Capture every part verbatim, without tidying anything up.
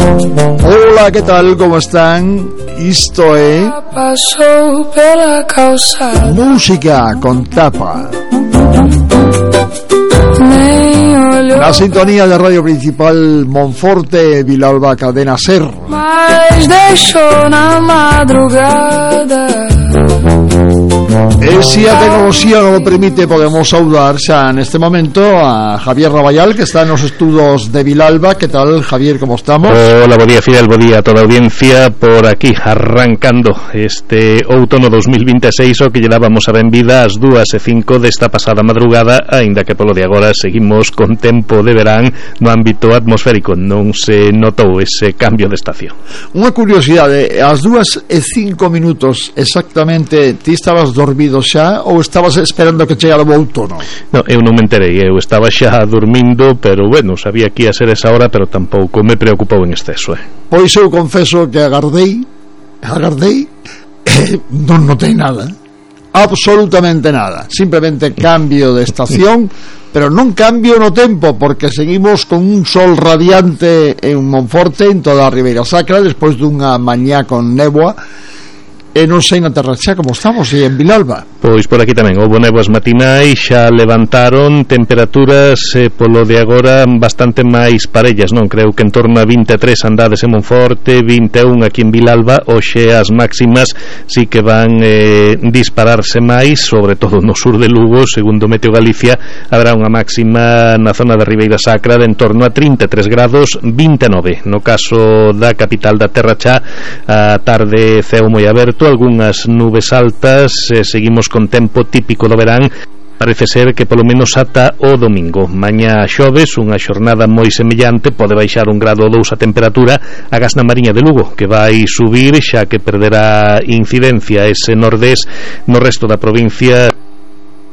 Hola, que tal? Como están? Isto é Música con Tapa, na sintonía de Radio Principal Monforte, Vilalba, Cadena Ser. Mas deixou na madrugada. E se a tecnoloxía non o permite, podemos saudar xa neste momento a Javier Raballal, que está nos estudos de Vilalba. Que tal, Javier, como estamos? Hola, bo día, Fidel, bo día a toda a audiencia. Por aquí, arrancando este outono dos mil vinte e seis, o que lle dábamos a benvida ás dúas e cinco desta pasada madrugada, aínda que polo de agora seguimos con tempo de verán no ámbito atmosférico. Non se notou ese cambio de estación. Unha curiosidade, ás dúas e cinco minutos exactamente, ti estabas dormido xa ou estabas esperando que chegara o outono? No, eu non me enterei, eu estaba xa dormindo, pero bueno, sabía que ia ser esa hora, pero tampouco me preocupou en exceso, eh. Pois eu confeso que agardei agardei e non notei nada, absolutamente nada, simplemente cambio de estación, pero non cambio no tempo, porque seguimos con un sol radiante en Monforte, en toda a Ribeira Sacra, despois dunha mañá con néboa. E non sei na terra xa como estamos, e en Vilalba. Pois por aquí tamén houbo néboas matinais, xa levantaron temperaturas eh, polo de agora bastante máis parellas, non? Creo que en torno a vinte e tres andades en Monforte, vinte e un aquí en Vilalba. Hoxe as máximas sí que van eh, dispararse máis, sobre todo no sur de Lugo. Segundo Meteo Galicia, habrá unha máxima na zona da Ribeira Sacra de en torno a trinta e tres grados, vinte e nove no caso da capital da terra xa. A tarde ceo moi aberto, algunhas nubes altas, eh, seguimos con tempo típico do verán. Parece ser que polo menos ata o domingo. Mañá xoves, unha xornada moi semellante, pode baixar un grado ou dous a temperatura. Agás na Mariña de Lugo, que vai subir, xa que perderá incidencia ese nordés no resto da provincia.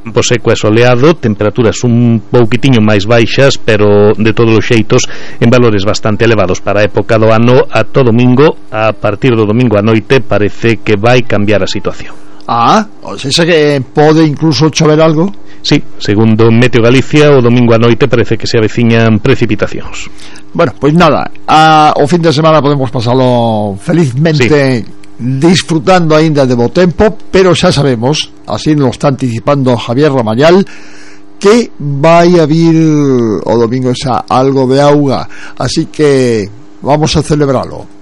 Tempo seco e soleado, temperaturas un pouquitiño máis baixas, pero de todos os xeitos en valores bastante elevados para a época do ano. Ata domingo, a partir do domingo a noite, parece que vai cambiar a situación. Ah, o sea que pode incluso chover algo? Sí, segundo Meteo Galicia, o domingo a noite parece que se aveciñan precipitacións. Bueno, pois nada, a, o fin de semana podemos pasalo felizmente, sí, disfrutando aínda de bo tempo, pero xa sabemos, así nos está anticipando Javier Raballal, que vai a vir o domingo xa algo de auga, así que vamos a celebralo.